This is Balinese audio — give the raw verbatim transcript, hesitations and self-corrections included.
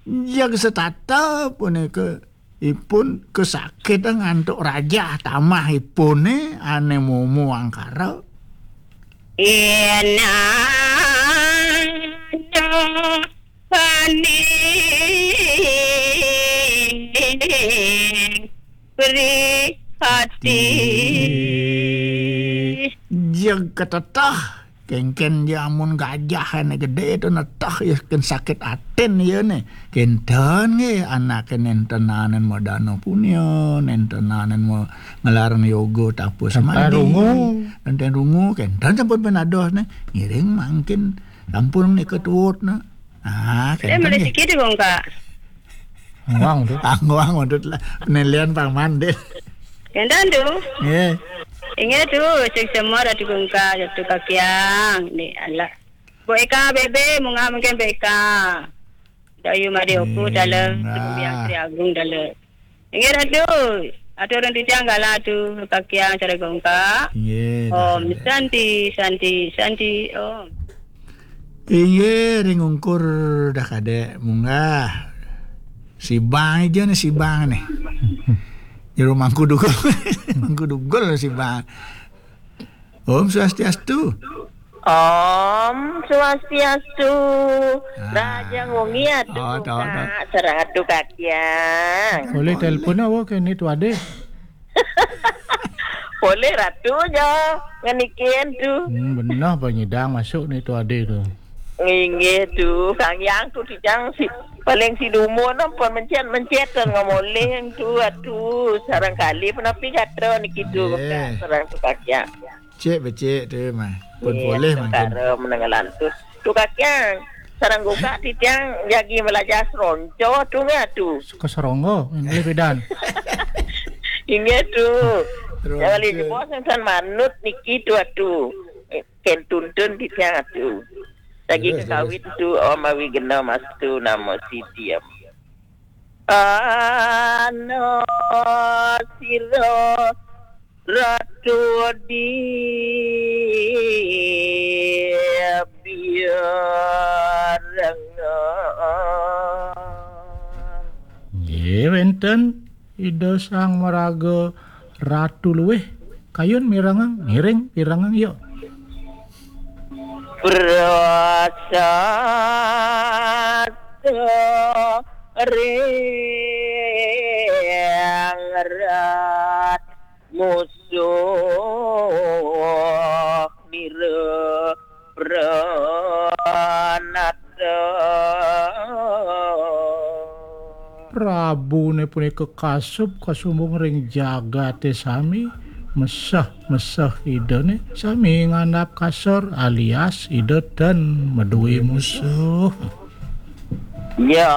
Yang setata punika ipun kesakit ngantuk rajah tamah ipune ane momo angkara. Inana paning prihati. Jeg ketetah, kengken ja amun gajah ane gede tu netah ya ken sakit atin ya ne. Kenten nge anake nentenanen madana punya, nentenanen ma ngelaran yoga tapa semadi. Rungu. Nenten rungu, kenten sampun penados ne. Ngiring mangkin sampun nika tuut ne. Ah, eh, kenten mulai nge. Sikit deh, Kak. Nguang tu. Ah, nguang untuk lah. Penilaian paman deh. Kenten tu. Nggih. Inggih tu, sing semua Ratu Gungka, Ratu Kakiang. Ni, alah. Bu Eka, Bebe, munggah mungkin Bu Eka. Dayu Made Oku, hmm, dalam, ah. Biang Sri Agung, dalam. Inggih, Ratu. Atur orang titiang gala tu, Kakiang, Ratu Gungka. Inggih, Om dah. Santi, Santi, Santi, Om. Inggih, ring ungkur dah kadek munggah. Sibang aja nih, sibang nih. Jero mangku dugul. Mangku dugul sibang. Om Swastiastu. Om Swastiastu. Ah. Raja Ngungi atu. Oh, tahu, tahu. Sareng atu Kakiang. Boleh telepon awak ke ni tu ada? Boleh Ratu ja ngenikin tu. Hmm, benar apa nyidang masuk ni tu ada tu. Inggih tu, Kang Yang tu tijang si paling si dumun pun mencet-mencet dan ngomoleng tu, atu sarang kali pun api gatra niki tu, sarang tu Kakiang. Cek becek tu mah. Pun boleh mangkin. Kara menengalan tu. Tu Kakiang, sarang gugak titiang jagi melajah seronco tu nggih tu. Suka serongo, boleh bedan. Inggih tu. Seronco. Jangan lagi bos yang san manut niki tu atu. Eh, ken tuntun titiang atu. Lagi terus, kekawit terus. Tu Om Awi Gena Mastu nama Siti Om. Ana sira Ratu di biarengan. Nggih, wenten Ida Sang Maraga Ratu luwih. Kayun mirengang, ngiring pirengang, yuk. Prasasta ring rat musuh nira pranata. Prabune punika kasub kasumbung ring jagate sami, meseh-meseh idane sami ngandap kasor alias ida ten maduwe musuh. Ya,